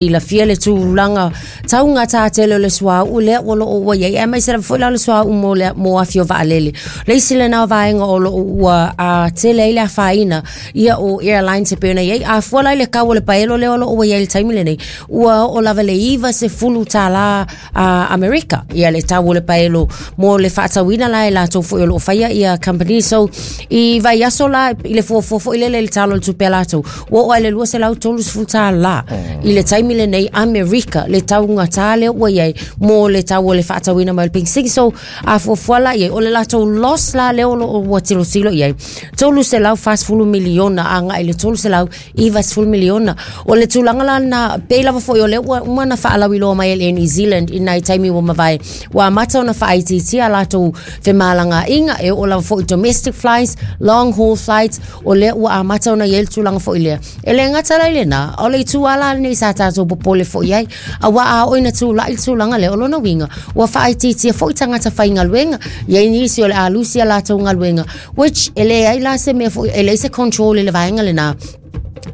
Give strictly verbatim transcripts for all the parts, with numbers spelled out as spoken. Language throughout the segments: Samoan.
Silafia le tulaga taugata tele o le suauu lea ua loo ua iai, aemaise lava foi la o le suauu mo le mo afi o vaalele. Le isi lena o vaega o loo ua a tele ai le afaina ia o airlines e pei ona iai. A fua la i le kau o le paelo lea o loo ua iai i le taimi lenei, ua oo lava le iva sefulu tālā a Amerika ia le tau o le paelo mo le faatauina la e latou foi o loo faia ia company. So i vaiaso la i le fuafua foi lele i le tala o le tupe a latou, ua oo ai le lua selau tolu sefulu tālā i le taimi lenei Amerika le taugata lea ua iai mo le tau o le faatauina mai o le penisini. So a fuafua la iai, o le latou loss la lea o loo ua tilotilo iai, tolu selau fasefulu miliona agai le tolu selau iva sefulu miliona. O le tulaga la na pei lava foi o lea ua uma na faalauiloa mai e le New Zealand i nai taimi ua mavae, ua amata ona faaitiitia latou femalagaaiga e oo lava foi domestic flights, long haul flights. O lea ua amata ona iai le tulaga foi lea. E le gata la i lena, o le itu ala lenei sa tatou popole foi ai, aua a oo ina tulai le tulaga lea, o lona uiga ua faaitiitia foi tagata faigaluega. Iai nisi o le a lusi a latou galuega, which e leai la se mea foi, e leai se control i le vaega lena,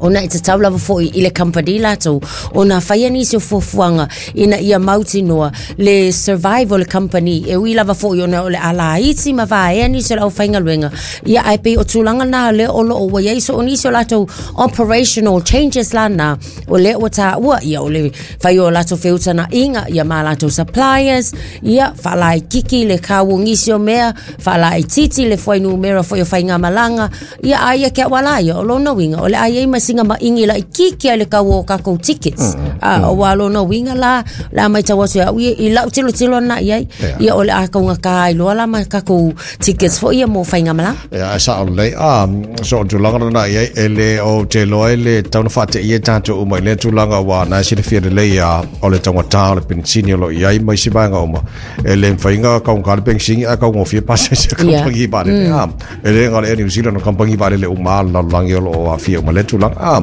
ona e tatau lava foi i le company latou ona faia nisi o fuafuaga ina ia mautinoa le survive o le company, e ui lava foi ona o le a laiti ma vaea nisi o le aufaigaluega ia. Ae pei o tulaga na lea o loo ua iai so o nisi o latou operational changes la na o lea ua taua ia, o le fai o latou feutagaiga ia ma latou suppliers, ia faalaititi le kau o nisi o mea, faalaititi le fuainumera foi o faigamalaga ia. A ia ke au ia, o lona uiga o le a iai ma singa maingi laititi ai le kau o kakou tickets. A ua lona uiga la le a matau atu au ia i lau tilotilo na iai ia, o le a kaugata ai loa la ma kakou tickets foi ia mo faigamalaga. Ia, e sao lelei a so o tulaga lena i ai e le o te iloa ai le tau na faateia tatou uma i lea tulaga, ua na e silafia lelei a o le taugata o le penisini o lo o i ai ma isi vaega uma. E le mafaiga kaugata le penisini ae kaugofie pasese a kamupani vaalele a e le gale Air New Zealand, o kamupani vaalele uma a le lalolagi o lo o aafia uma lea tulaga a.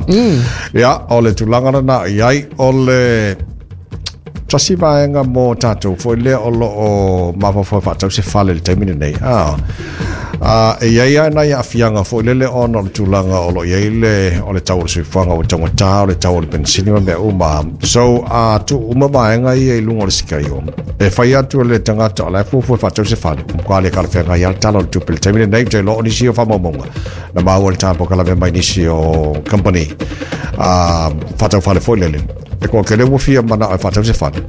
Ia, o le tulaga lena i ai o le tasi vaega mo tatou foi lea o lo o mafaufau e faatau se fale i le taimi lenei a a e iai lava nai aafiaga foi lele ona o le tulaga o lo o iai le o le tau o le soifuaga ua taugata, o le tau o le penisini ma mea uma. So a tuu uma vaega ia i luga o le sikaio e fai atu e le tagata o la e fuafua e faatau se fale, matua le talafeagai lava le tala o le tupe i le taimi lenei. Ou te iloa o nisi o faamaumauga na maua i le tapokalafe mai nisi o company a faatau fale foi lele e toatele ua fia manao e faatau se fale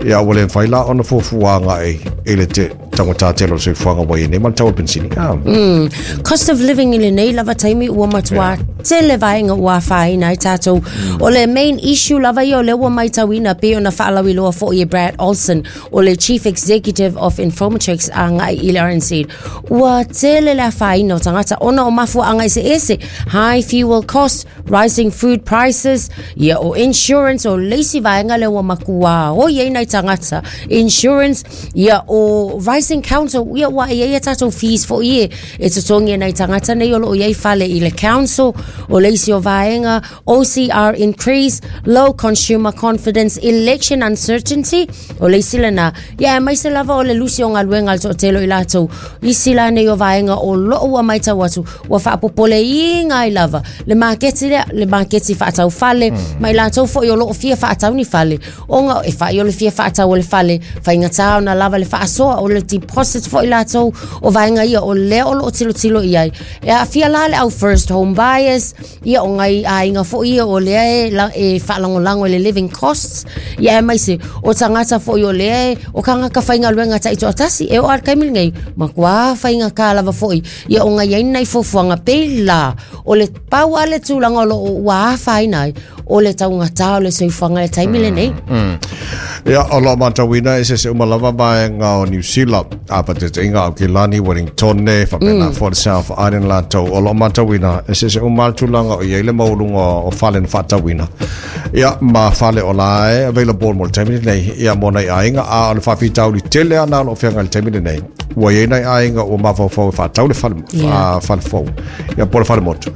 ia, ua le mafai la ona fuafua agai i le te taugata tele o le soifuaga ua iai nei ma le tau o le penisini a. Mm. Cost of living i lenei lava taimi ua matua tele vaega ua afaina ai tatou. O le main issue lava ia o lea ua matauina pei ona faalauiloa foi e Brad Olson, o le Chief Executive of Infometrics agai i le R N C, ua tele le afaina o tagata ona o mafuaaga eseese: high fuel costs, rising food prices, ia o insurance o le isi vaega lea ua matua oi ai nai tagata, insurance, ia o rising council, ia ua iai a tatou fees foi e e totogi e nai tagata nei o loo iai fale i le council. O le isi o vaega, O C R increase, low consumer confidence, election uncertainty o le isi lena ia, aemaise lava o le lusi o galuega a le toatele o i latou. Isi la nei o vaega o loo ua matau atu ua faapopoleina ai lava le maketi lea, le maketi faatau fale mm. ma i latou foi o loo fia faatau ni fale, ona e fai o le fia faatau o le fale, faigata ona lava le faasoa o le deposit foi latou. O vaega ia o lea o loo tilotilo i ai e aafia la le au first home buyers ia, o ngai aiga foi ia o lea e, la, e faalagolago i le living costs ia, aemaise o tagata foi o lea e o tagata faigaluega taitoatasi e oo a le taimi lenei matua faigata lava foi ia o ngai ai nai fuafuaga. Pei la o le pau a le tulaga o loo ua afaina ai o le taugata o le soifuaga i le taimi lenei. Mm. Ia, o lo o matauina e sese uma lava vaega o New Zealand a faataitaiga Aukilani, Wellington, faapena mm. foi le South Island latou o lo o matauina e sese uma le tulaga o iai le maualuga o fale na faatauina ia ma fale o la e available mo le taimi lenei ia mo nai aiga. A o le faafitauli tele ana o lo o feagai i le taimi lenei, ua iai nai aiga ua mafaufau e faatau le fale Yeah. yeah. fale fou ia po le fale motu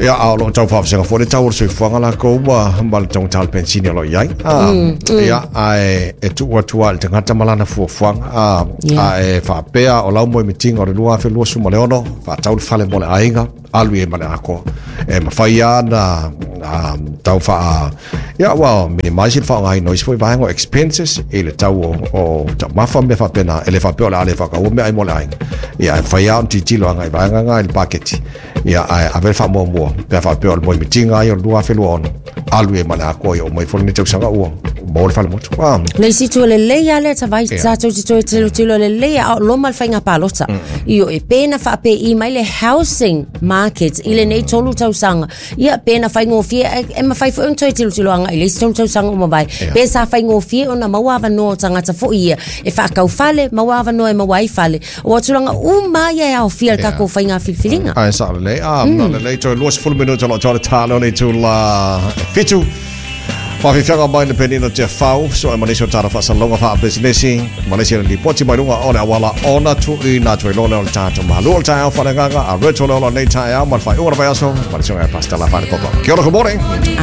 ia, a o lo o tau faavasega foi le tau o le soifuaga lakou ma ma le taugata o le penisini o lo o i ai a mm, mm. Ia, ae e tuu atu ai le tagata ma lana fuafuaga a Yeah. a e faapea o lau moemitiga o le lua afe lua sefulu ma le ono faatau le fale mo le aiga. Alu i ma le atoa e mafai lava ona tau faa ia ua minimize le faaaogaina o isi foi vaega o expenses i le tau o, o taumafa ma mea faapena. E le faapea o le a le faatauina meaai mo le aiga, ia, ae mafai lava ona tilotilo agai i vaega na i le paketi, ia, ae ave le faamuamua pe a faapea o le moemitiga ai o le twenty twenty-six, alu i ma le atoa i o mai foi lenei tausaga ua maua le falemotu. Ah, Le isi itu lelei lava lea tavai tatou te toe tilotilo lelei a o loma le faiga palota. Io e pena faapei mai le housing market i lenei tolu tausaga. Ia pena faigofie e, e mafai foi ona toe tilotilo agai i le isi tolu tausaga o mavae. Pe sa faigofie ona maua avanoa o tagata foi ia e faatau fale, maua avanoa e maua ai fale. O tulaga uma ia e aofia le tatou faiga filifiliga. Ai sa lelei, ah, mm. lelei toe twenty minuta o lo o talo le tula fitu. Faafiafiaga mai le penina te fau, so e manisi o tara whaasaloga wha business, manisi le lipoti mai lunga o le awala ona tu i nā tui lole o le tātou mahalu o le taeao whalengaga, a reto le ola nei taeao, ma le whai ua na vai aso, manisi o ngai pasta la whare popo. Kia ora, good morning.